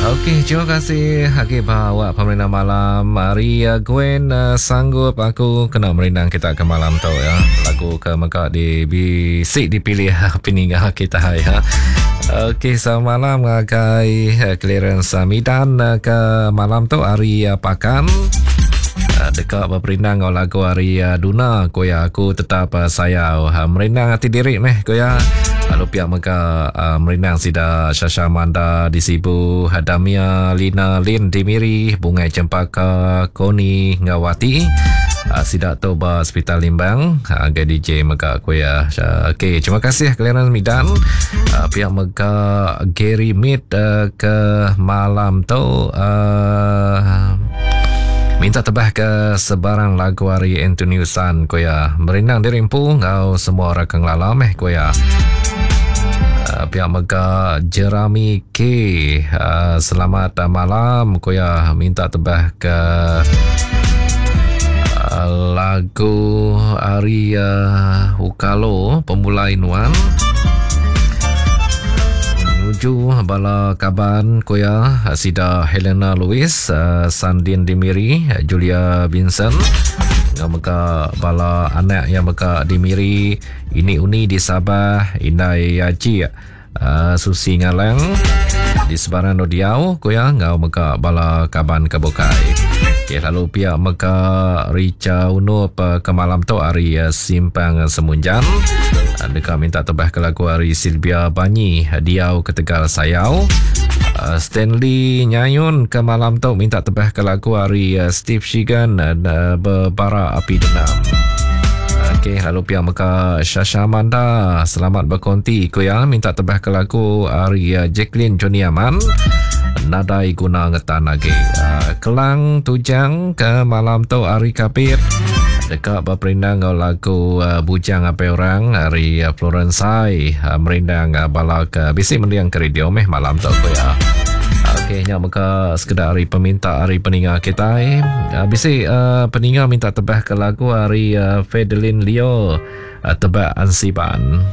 Okey, terima kasih agi ba awak pemerindang malam hari uh, Gwen uh, sanggup aku kena merindang kita ke malam tu ya. Lagu ke mega di bisi dipilih peninga kita ya. Okey, selamat malam ngagai uh, Clarence Midan uh, ke malam tu hari uh, Pakan. Uh, deka beperindang ngau lagu hari uh, Duna ku ya aku tetap uh, sayau. Uh, merindang ati diri meh ku ya. Lalu pia mega uh, merindang sida Shasha Manda di Sibu, Damia, Lina, Lin di Miri, Bungai Cempaka, Koni enggau Wati. Uh, sida tu ba Hospital Limbang uh, agai DJ mega ku ya. Okey, terima kasih Clarence Midan. Uh, pia mega Gary Mead uh, ke malam tu uh, minta tebah ke sebarang lagu ari Anthony Usan ku ya. Merindang diri empu enggau semua orang ke ngelala meh ku ya. Uh, pia mega Jerami K uh, selamat malam ku ya minta tebah ke uh, lagu ari uh, Ukalo Pemulai Nuan nuju bala kaban ku ya sida Helena Louis uh, Sandin Dimiri Julia Vincent enggau mega bala anak yang mega di Miri ini uni di Sabah Indai Aji uh, Susi Ngalang di Sebaran Odiau ku ya enggau mega bala kaban ke bukai. Okay, lalu pia mega Richa Unup uh, ke malam tu hari uh, Simpang Semunjan uh, deka minta tebah ke lagu hari Sylvia Banyi Diau Ketegal Sayau. Uh, Stanley Nyayun ke malam tu minta tebah ke lagu hari uh, Steve Shigan uh, Bebara Api Dendam. Okey, lalu pia mega Shasha Amanda selamat berkonti ku ya minta tebah ke lagu ari uh, Jacqueline Johnny Aman nadai guna ngetan lagi. Uh, Kelang Tujang ke malam tu ari Kapit deka berperindang enggau lagu uh, Bujang Apai Orang ari uh, Florence Sai uh, merindang uh, bala ke bisi mending ke radio meh malam tu ku ya. Okey, nya mega sekeda ari peminta ari peninga kitai. Uh, bisi uh, peninga minta tebah ke lagu ari uh, Fedelin Leo uh, Tebak Ansiban.